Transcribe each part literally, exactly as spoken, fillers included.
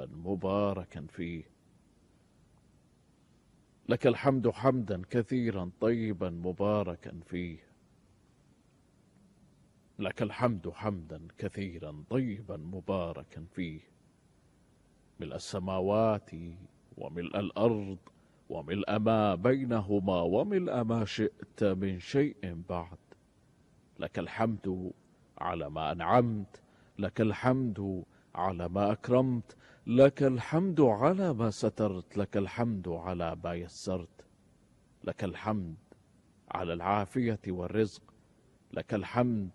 طيبا مباركا فيه. لك الحمد حمدا كثيرا طيبا مباركا فيه. لك الحمد حمدا كثيرا طيبا مباركا فيه، ملء السماوات وملء الأرض وملء ما بينهما وملء ما شئت من شيء بعد. لك الحمد على ما أنعمت، لك الحمد على ما أكرمت، لك الحمد على ما سترت، لك الحمد على ما يسرت. لك الحمد على العافية والرزق، لك الحمد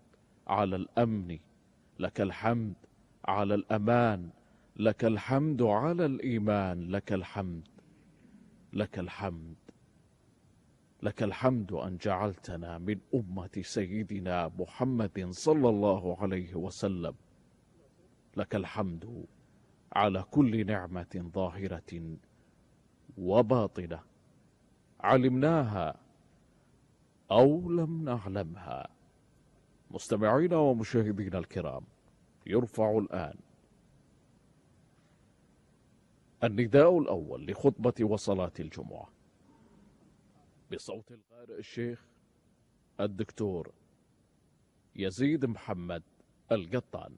على الأمن، لك الحمد على الأمان، لك الحمد على الإيمان، لك الحمد لك الحمد لك الحمد أن جعلتنا من أمة سيدنا محمد صلى الله عليه وسلم. لك الحمد على كل نعمة ظاهرة وباطنة علمناها أو لم نعلمها. مستمعينا ومشاهدينا الكرام، يرفع الآن النداء الأول لخطبة وصلاة الجمعة بصوت القارئ الشيخ الدكتور يزيد محمد القطان.